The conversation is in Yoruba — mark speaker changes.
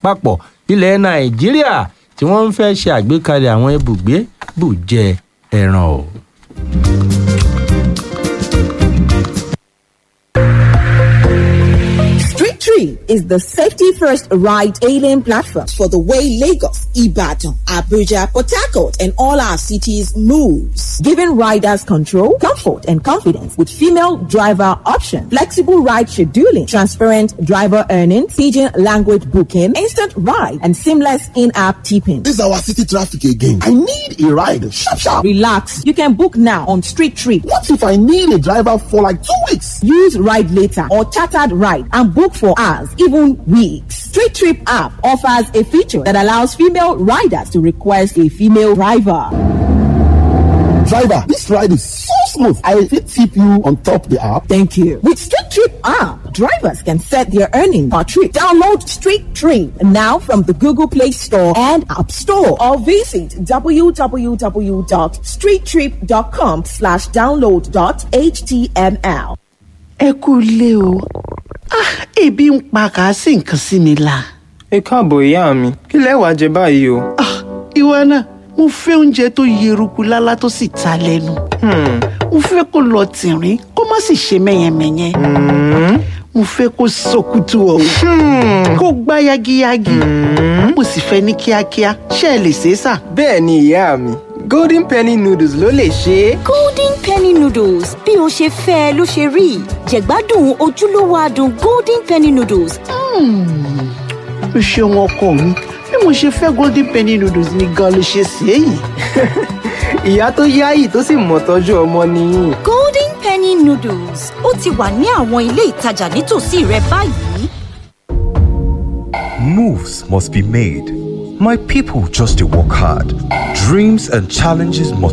Speaker 1: Àpapọ̀ ilẹ̀ Nàìjíríà tí wọ́n ń fẹ́ ṣe àgbékalẹ̀ àwọn ibùgbé bùjẹ ẹran o.
Speaker 2: Street Tree is the safety first ride hailing platform for the way Lagos, Ibadan, Abuja, Port Harcourt, and all our cities moves, giving riders control, comfort, and confidence with female driver option, flexible ride scheduling, transparent driver earnings, pidgin language booking, instant ride, and seamless in-app tipping.
Speaker 3: This is our city traffic again. I need a ride. Sharp, sharp.
Speaker 2: Relax. You can book now on Street Tree.
Speaker 3: What if I need a driver for like 2 weeks?
Speaker 2: Use Ride Later or Chartered Ride and book for hours, even weeks. Street Trip app offers a feature that allows female riders to request a female driver.
Speaker 3: Driver, this ride is so smooth. I fit tip you on top the app.
Speaker 2: Thank you. With Street Trip app, drivers can set their earning per trip. Download Street Trip now from the Google Play Store and App Store or visit www.streettrip.com/download.html.
Speaker 4: Ẹ kú ilé o. Ah, ebi ń pa, kà á sí nǹkan sí mi la.
Speaker 5: Ẹ káàbọ̀ ìyá mi, kí lẹ wàá jẹ báyìí o?
Speaker 4: Ah, ìwọ náà, mo fẹ́ oúnjẹ tó yeruku lálá tó sì ta lẹ́nu. Mo fẹ́ kó lọ tìrín, kó má sì ṣe mẹ́yẹmẹ́yẹ. Mo fẹ́ kó sọkútù ọ̀hún, kó gbá yagiyagi. Mo sì fẹ́ ní kíákíá. Ṣé ẹ lè ṣe é sà?
Speaker 5: Bẹ́ẹ̀ ni ìyá mi, Golden Penny noodles ló lè ṣe é.
Speaker 6: Golden Penny noodles, bí o ṣe fẹ́ ẹ ló ṣe rí. Jẹ̀gbádùn ojúlówó adùn Golden Penny noodles.
Speaker 4: O ṣeun ọkọ mi, bí mo ṣe fẹ́ Golden Penny noodles ni gan ló ṣe ṣe é yìí.
Speaker 5: Ìyá tó yáyì tó sì mọ̀ tọ́jú ọmọ nìyí.
Speaker 6: Golden Penny noodles ó ti wà ní àwọn ilé ìtajà nítòsí rẹ báyìí.
Speaker 7: Moves must be made. My people just to work hard. Dreams and challenges multiply.